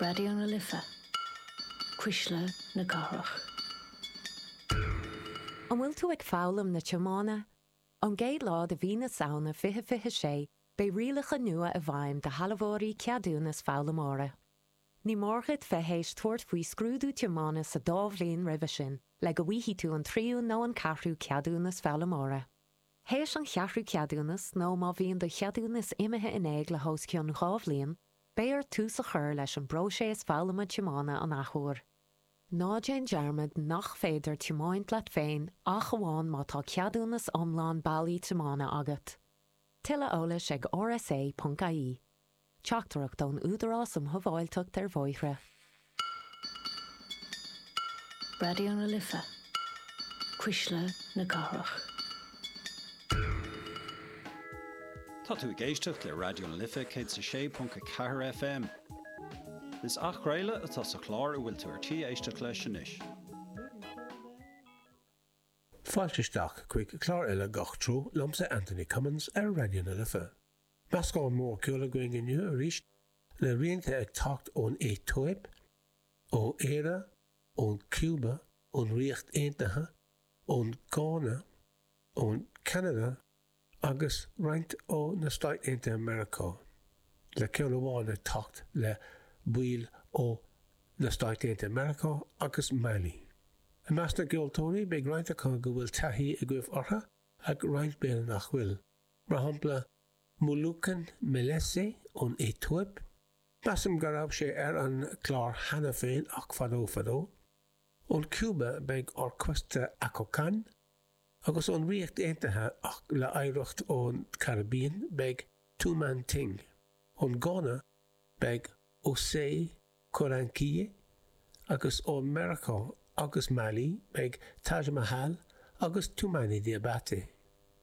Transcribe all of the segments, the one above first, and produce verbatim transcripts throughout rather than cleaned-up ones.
Raidió na Life, Cuisle na Cathrach. An bhfuil tú ag foghlaim na tiomána? Ón gcéad lá de mhí na Samhna fiche fiche sé, beidh rialacha nua i bhfeidhm do shealbhóirí ceadúnas foghlaimeora. Ní mór duit bheith théis tabhairt faoi scrúdú tiomána sa dá bhliain roimhe sin, le go bhfaighidh tú an tríú nó an ceathrú ceadúnas foghlaimeora. Théis an cheathrú ceadúnas nó má bhíonn do cheadúnas imithe in éag le hos cionn dhá bhliain, beidh ort tús a chur leis an bpróiseas foghlama tiomána an athuair. Ná déan dearmad nach féidir tiomáint leat féin ach amháin má tá ceadúnas iomlán bailí tiomána agat. Tuilleadh eolais ag rsa.ie. Teachtaireacht ón Údarás um Shábháilteacht ar Bhóithre. Raidió na Life, Cuisle na Cathrach. Tá tú ag éisteacht le Raidió na Life céad is a sé ponc a ceathair FM. Is athchraoladh atá sa chlár a bhfuil tú ar tí éisteacht leis anois. Fáilte isteach chuig clár eile Gach Treo liomsa Anthony Cummins ar Raidió na Life. Meascán mór ceoil againn inniu arís le rianta ag teacht ón Aetóip, ó Éire, ón Cúba, ón Ríocht Aontaithe, ón Gána, ón Ceanada agus roinnt ó na Stáit Aontaithe Meiriceá, le ceann amháin ag teacht le baill ó na Stáit Aontaithe Meiriceá agus Mailí. I measc na gceoltóirí beidh roinnt acu go bhfuil taithí agaibh orthu ach roinnt b'fhéidir nach bhfuil. Mar shampla, Muluken Melese ón Aetóip, measaim go raibh sé ar an gclár cheana féin ach fadó fadó. Ón Cúba beidh Orquesta Akokán, Agus ón Ríocht Aontaithe ach le hoidhreacht ón Caribbean beidh Two Man Ting. Ón Gána beidh Osei Korankye agus ó Meiriceá agus Mailí beidh Taj Mahal agus Toumani Diabaté.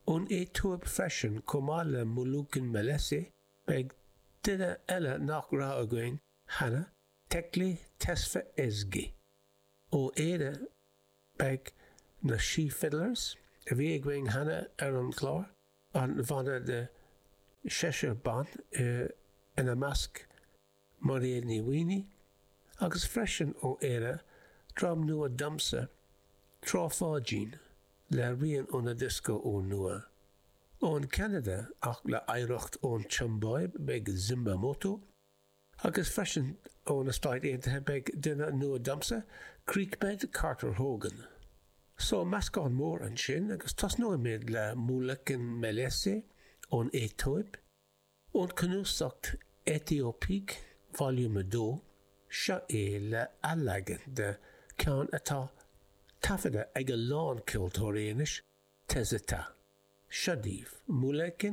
Ón Aetóip freisin chomh maith le Muluken Melese beidh duine eile nach raibh againn cheana, Tekle Tesfa Ezgi. Ó Éire beidh na She Fiddlers, a bhí againn cheana ar an gclár, an banna de sheisear ban, ina measc Mairéad Ní Mhaonaigh, agus freisin ó Éire, dream nua domsa, Trá Pháidín, le rian óna diosca úrnua. Ón Ceanada, ach le hoidhreacht ón tSiombáib, beidh Zimba Moto, Agus freisin ó na Stáit Aontaithe beidh duine nua domsa, Creekbed Carter Hogan. So, meascán mór ansin agus tosnóimid le Muluken Melese ón Aetóip, ón cnuasach Ethiopiques Volume a dó, seo é le athleagan de cheann atá taifeadta ag a lán ceoltóirí anois, Tezeta. Seo daoibh, Muluken